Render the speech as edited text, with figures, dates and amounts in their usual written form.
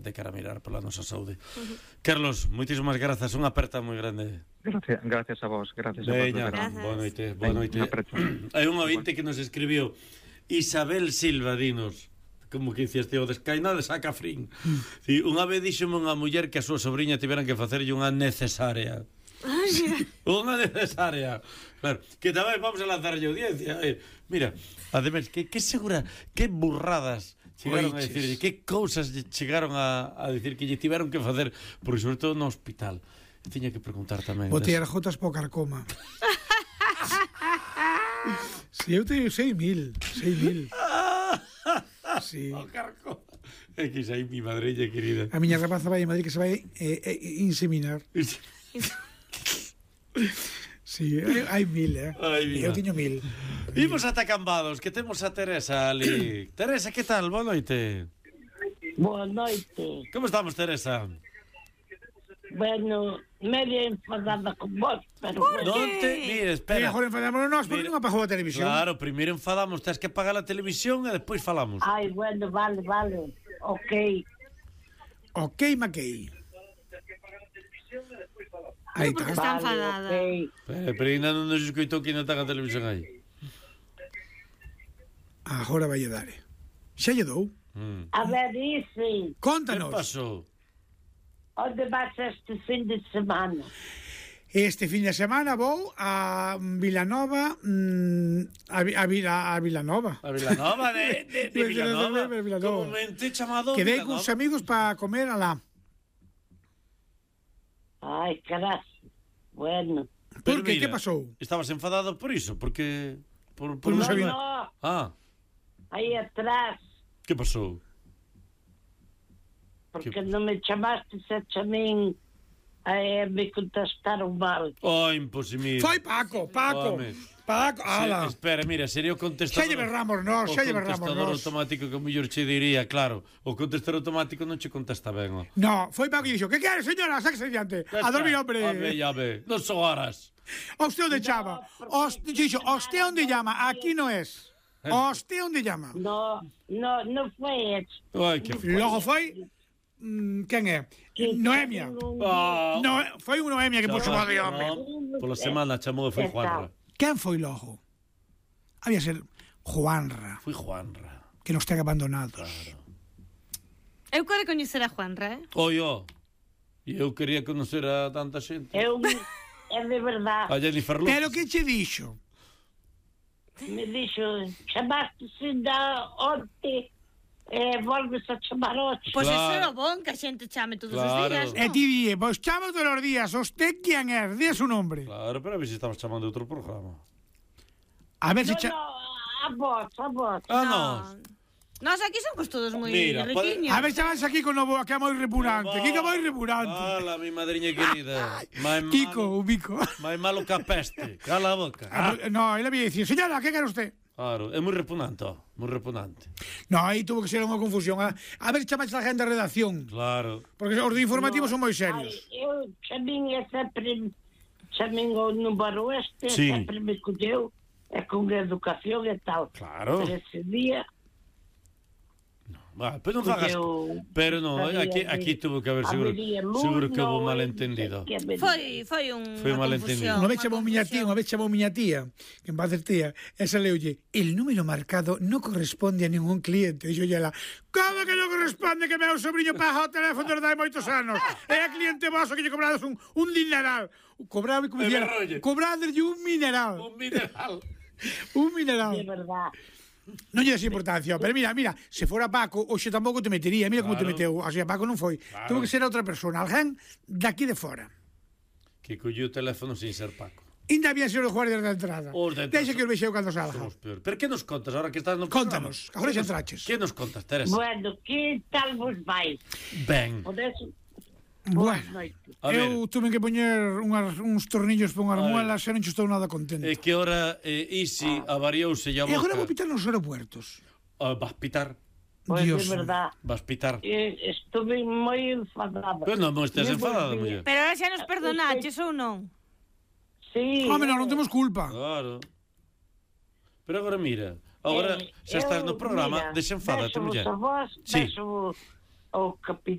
de cara a mirar pola nosa saúde. Carlos, moitísimas grazas, unha aperta moi grande. Gracias a vos, gracias a vos. Veña, boa noite, boa noite. Hai un ointe que nos escribiu, Isabel Silva, dinos, como que diciste, o descaina de saca frín. Unha vez díxome unha muller que a súa sobrinha tiveran que facerlle unha necesaria. Unha necesaria. Claro, que tamén vamos a lanzarlle audiencia. Mira, además, que segura, que burradas chegaron a decir, que cousas chegaron a decir que lle tiveron que facer, porque sobre todo no hospital. Tiña que preguntar tamén. Botei as gotas po carcoma. Si, eu teño 6.000. Sí. O carcoma. É que xa hai mi madrella querida. A miña rapaza vai en Madrid que se vai inseminar. Sí, hai 1.000, eu teño 1.000. Imos ata Cambados, que temos a Teresa ali. Teresa, que tal? Boa noite. Boa noite. Como estamos, Teresa? Bueno, media enfadada con vos, pero... Non te... Mira, espera. Mejor enfadámonos nós, porque non apagou a televisión. Claro, primeiro enfadamos, tens que apagar a televisión e despois falamos. Ai, bueno, vale. Ok. Ok, Mackey. Aí Porque está. está enfadada. Pero ainda non nos escoitou que ainda está a televisión aí. Agora vai dar. Xa lle dou. A ver, Isi, Que Contanos. pasou? onde vas este fin de semana? Este fin de semana vou a Vilanova, a Vilanova. A Vilanova de Vilanova. Comúnmente chamado Quedei Vilanova. cuns amigos para comer alá. Ai, caras. Bueno. Por que? Que pasou? Estabas enfadado por iso? Porque... Por non sabía. No, Ah, aí atrás, que pasou? porque non me chamaste a min, me contestaron mal. Oh, imposible. Foi Paco. Home. Ala. Espera, mira, sería o contestador. Xa lle berramos nós. O contestador automático que o mellor che diría, claro, o contestador automático non che contesta ben. Oh. No, foi Paco e dixo, que quere, señora? Sáquese diante. A dormir, hombre. Ya ve, non son horas. Usted onde chama? Dixo, usted onde llama? Aquí no es. Usted onde llama? No foi eso. Ai, que Logo foi... quen é? Noemia. Ah, No, foi unha Noemia que puxo mal de home. Pola semana chamou e foi Juanra. Quen foi logo? Había ser Juanra, Foi Juanra. que nos ten abandonados. Claro. Eu quero coñecer a Juanra, Oi, e eu quería conocer a tanta xente. É de verdade. A Jennifer Lopez. Pero que che dixo? Me dixo, chamaste da onte, volves a chamar hoxe. Pois Claro. eso é o bon, que a xente chame todos os Claro. días, E non? ti dije, pois chamo todos os días. Usted quen é? Dí su nombre. Claro, pero a ver se estamos chamando outro programa. A ver se... A vos. Ah, non. Nos aquí somos todos moi Mira, riquiños. A ver se vas aquí con novo, que é moi repugnante. Kiko é moi repugnante. Ala, mi madriña querida. Kiko, ubico. Máis malo que a peste. Cala a boca. No, él había dicir, señora, que quer usted? Claro, é moi repugnante, moi repugnante. No, aí tuvo que ser unha confusión. A ver, chamaches a gente de redacción. Claro. Porque os de informativos son moi Ai, serios. eu chamín o número Sí. sempre me colleu, con educación e tal. Claro. Pero ese día... Vale, pero non fagas. Pero non, aquí tuvo que haber seguro que houve un malentendido. Foi Foi un unha malentendido. confusión. Unha vez chamou miña tía, que en paz tía, esa leulle, el número marcado non corresponde a ningún cliente. Dixo ela, como que non corresponde que meu sobrinho paga o teléfono desde hai moitos anos? É a cliente vosso que lle cobrades un dineral. Cobrade como dicía, cobrade un mineral. Un mineral. Un mineral. De verdade. Non lle des importancia, pero mira, se fora Paco, hoxe tampouco te metería, mira como te meteu, así a Paco non foi. Tuvo que ser outra persona, alguén daqui de fora. Que colleu o teléfono sin ser Paco. Ainda había sido os guardias da entrada. Deixa que os vexeu cando salga. Somos peor. Pero que nos contas ahora que estás no programa? Contanos, agora xa entraches. Que nos contas, Teresa? Bueno, que tal vos vai? Ben. Podes... Bueno, A ver. eu tuve que poñer uns tornillos para unhas muelas e non estou nada contento. É que ora Isi avariouse a E boca. agora vou pitar nos aeropuertos. Vas pitar. Pois Dios. de verdade. Vas pitar. Estuve moi enfadada. Pero non estés enfadada, muller. Pero ahora xa nos perdonaches ou non? Sí. Home, non temos culpa. Claro. Pero agora mira, agora xa estás no programa, desenfádate, muller. Beso vos a vos, Sí. beso ao capitán.